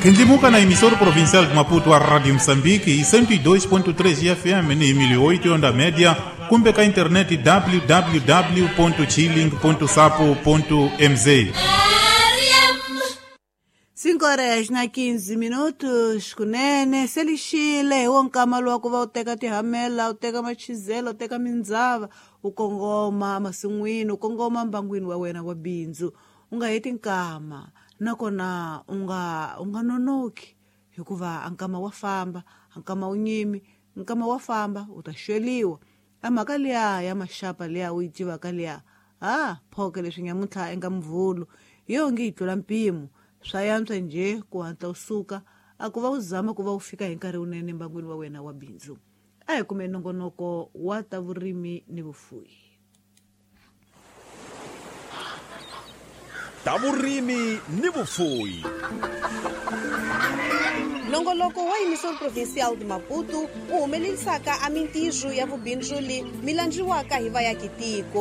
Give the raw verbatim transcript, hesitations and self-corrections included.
Kendlimuka na emissora provincial de Maputo, a Rádio Moçambique, e cento e dois ponto três F M em mil e oito onda média, cumbe a internet w w w ponto chilling ponto sapo ponto m z. Cinco horas na quinze minutos, kunene, selixile, wonkama lwa ku va u teka tihamela, u teka machizelo, u teka mindzava, u kongoma masin'wini, u kongoma mbangwini wa wena wa bindzu. U nga heti nkama, nakona u nga, u nga nonoki, hikuva nkama wa famba, nkama wu nyimi, nkama wa famba, u ta xweliwa. A mhaka liya ya maxapa liya u yi tivaka liya, ha, phoke leswi nyamuntlha eka mvhulu, hi yo nge yi tlula mpimo. Swa yantswa njhe ku hatla u suka, a ku va u zama ku va u fika hi nkarhi wunene mbangwini wa wena wa bindzu. A hi kume nongonoko wa ta vurimi ni vufuwi. Ta vurimi ni vufuwi. Nongonoko wa Emissora Provincial de Maputo wu humelerisaka a mintirho ya vubindzuli mi landziwaka hi vayakitiko.